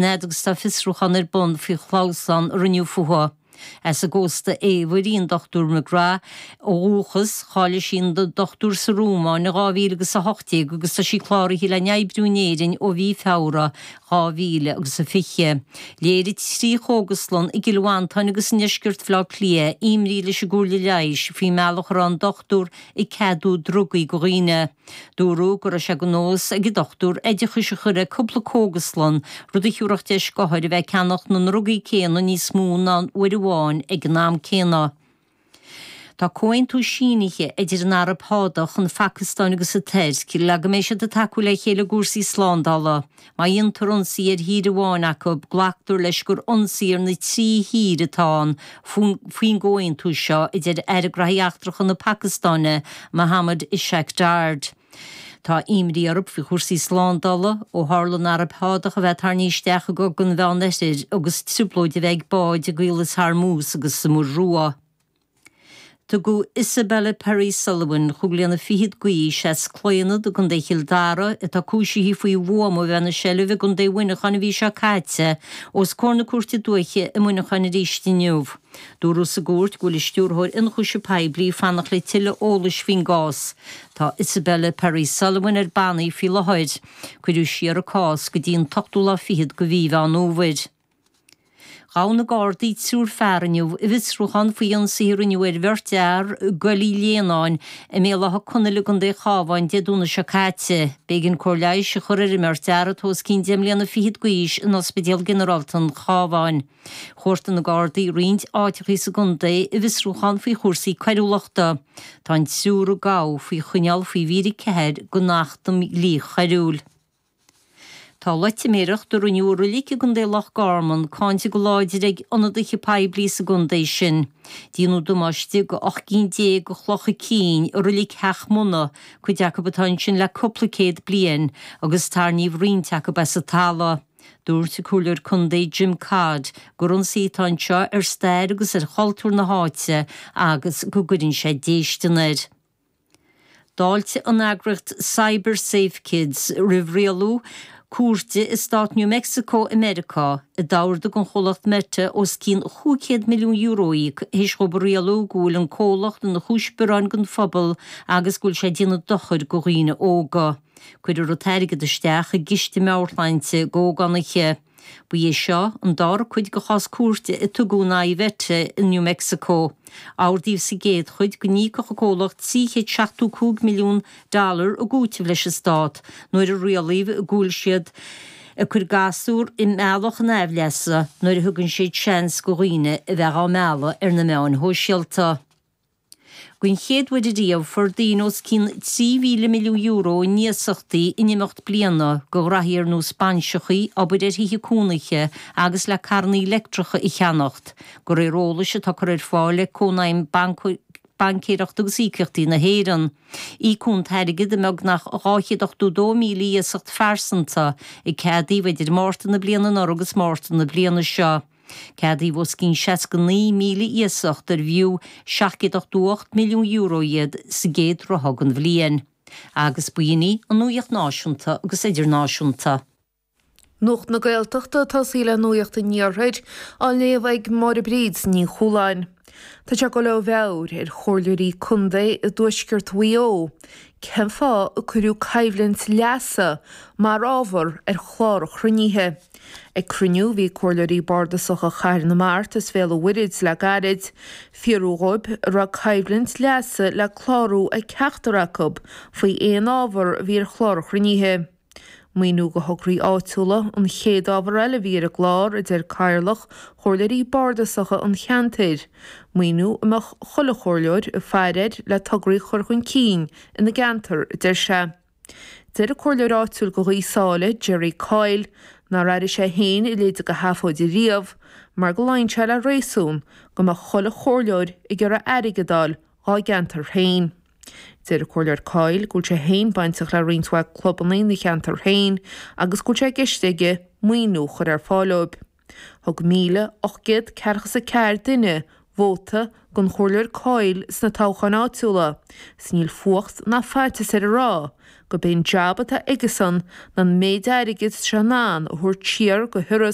Fhad agus tá fiosrúchán ar bun faoi chlamhsán a rinneadh fúthu. As an gcósta Eabhair í an Dr McGrath ó dhúchas, cháiligh sí ina dochtúir sa Rómáin in 2018 agus tá sí cláraithe le n-oibriú in Éirinn ó mhí Feabhra 2020. Léirigh 3 chógaslann i gCill Mhantáin agus i ndeisceart Bhaile Átha Cliath imní leis an gComhairle Leighis faoin mbealach a raibh an dochtúir ag ceadú drugaí go dhaoine. Dúradh go raibh sé de nós ag an dochtúir oideachais a chur ar cúpla cógaslann, rud a thiúrfadh deis d'othair a bheith ag ceannach na ndrugaí céanna níos mó ná uair amháin ag an am céanna. Tá comhaontú sínithe idir an Araib Shádach, an Phacastáin agus an Tuirc le go mbeidh siad ag tacú le chéile i gcúrsaí slándála. Má dhéantar ionsaí ar thír amháin acu, glactar leis gur ionsaí ar na trí thír atá ann faoin gcomhaontú seo, a deir Aire Graithí Eachtracha na Pacastáine, Mohammad Ishaq Dar. Tá imní orthu faoi chúrsaí slándála ó tharla an Araib Shádach a bheith tarraingthe isteach i gCogadh an Mheánoirthir agus trioblóid a bheith ag báid i gCaolas Hormuz agus sa Muir Rua. Tugadh Isabella Perry Sullivan, chúig bliana fichead d'aois, as Claonad i gContae Chill Dara, atá cúisithe faoi bhuama a bheith ina seilbh i gContae Mhuineacháin an mhí seo caite, os comhair na Cúirte Dúiche i Muineachán arís inniu. Dúradh sa gcúirt go bhfuil an Stiúrthóir Ionchúiseamh Poiblí ag fanacht le tuilleadh eolais faoin gcás. Tá Isabella Perry Sullivan ar bannaí faoi láthair. Cuireadh siar a cás go dtí an t-ochtú lá fichead de mhí Mheán Fhómhair. Ghabh na Gardaí triúr fear inniu i bhfiosrúchán faoi ionsaithe a rinneadh ar bheirt fhear i gCoill Uí Léanáin i mBéal Átha Conaill i gContae an Chabháin Dé Domhnaigh seo caite. B'éigean cóir leighis a chur ar an mbeirt fhear atá os cionn deich mbliana fichead d'aois in Ospidéal Ginearálta an Chabháin. Chuartaigh na Gardaí roinnt áiteachaí sa gcontae i bhfiosrúchán faoi chúrsaí coiriúlachta. Tá an triúr a gabhadh faoi choinneáil faoi mhír 4 den Acht um Dhlí Choiriúil. Tá loitiméireacht a rinneadh i roilig i gContae Loch Garman cáinte go láidir ag ionadaithe poiblí sa gcontae sin. Déanadh damáiste go 18 gcinn de chlocha cinn i roilig Theach Munna, cuid acu atá ansin le cúpla céad bliain, agus tarraingíodh roinnt acu as an talamh. Dúirt an Comhairleoir Contae Jim Codd gur ionsaí atá anseo ar stair agus ar chultúr na háite agus go gcuireann sé déistean air. D'fháiltigh an eagraíocht CyberSafeKids roimh rialú cúirte i stát New Mexico i Meiriceá, a d'ordaigh don chomhlacht Meta os cionn €500 milliún a íoc théis dhóibh a rialú go bhfuil an comhlacht ina chúis bioráin don phobal agus go bhfuil sé ag déanamh dochair do dhaoine óga. Cuirfear an t-airgead isteach i gciste meabhairshláinte d'ógánaithe. Ba é seo an dara cuid de chás cúirte a tugadh in aghaidh Mheta i New Mexico. Ordaíodh sa gcéad chuid go n-íocfadh an comhlacht 375 milliún dollar i gcúiteamh leis an stát nuair a rialaíodh go bhfuil siad ag cur gasúr i mbealach an aimhleasa nuair a thugann siad seans do dhaoine a bheith á mealladh ar na meáin shóisialta. Den chéad uair ariamh, fuair daoine os cionn €3,000 milliún in iasachtaí in imeacht bliana do ghraithí ar nós bainseachaí, obair ar thithe cónaithe agus le carrannaí leictreacha a cheannacht, de réir eolais atá curtha ar fáil ag Cónaidhm Baincéireachta agus Íocaíochtaí na hÉireann. Íocadh an t-airgead i mbeagnach 282,000 iasacht phearsanta a ceadaíodh idir Márta na bliana anuraidh agus Márta na bliana seo. Ceadaíodh os cionn 69,000 iasacht arbh fhiú €788 milliún iad sa gcéad ráithe den bhliain. Agus b'in í an nuaíocht náisiúnta agus idirnáisiúnta. Nuacht na Gaeltachta ag tosaí le Nuacht an Iarthair á léamh ag Máire Bríd Ní Chualáin. Tá sé ag dul ó mheabhair ar chomhairleoirí contae i dtuaisceart Mhaigh Eo cén fáth a cuireadh coimhlint leasa mar ábhar ar chlár an chruinnithe. Ag cruinniú a bhí ag Comhairleoirí Bardasacha Chathair na Mart is Bhéal an Mhuirthead le gairid, fiafraíodh dhóibh an raibh coimhlint leasa le clárú ag ceachtar acu faoi aon ábhar a bhí ar chlár an chruinnithe. Maoiniú do thograí áitiúla an chéad ábhar eile a bhí ar an gclár, a deir Cathaoirleach Chomhairleoirí Bardasacha an cheantair, maoiniú a mbeadh chuile chomhairleoir ag faire air le tograí a chur chun cinn ina gceantar, a deir sé. Deir an comhairleoir áitiúil do Ghaoth Sáile, Gerry Coyle, nár airigh sé féin a leithéid de sheafóid riamh mar go luíonn sé le réasún go mbeadh chuile chomhairleoir ag iarraidh airgead a fháil dhá gceantar féin. Deir an Comhairleoir Coyle go bhfuil sé féin bainteach le roinnt mhaith clubanna ina cheantar féin agus go bhfuil sé i gceist aige maoiniú a chur ar fáil dóibh. Thug 1,844 duine. Vóta don Chomhairleoir Coyle sna toghcháin áitiúla, 's níl fuacht ná faitíos air a rá gurb é an jab atá aigesan ná an méid airgid 's sé in ann a thabhairt siar go hIorras.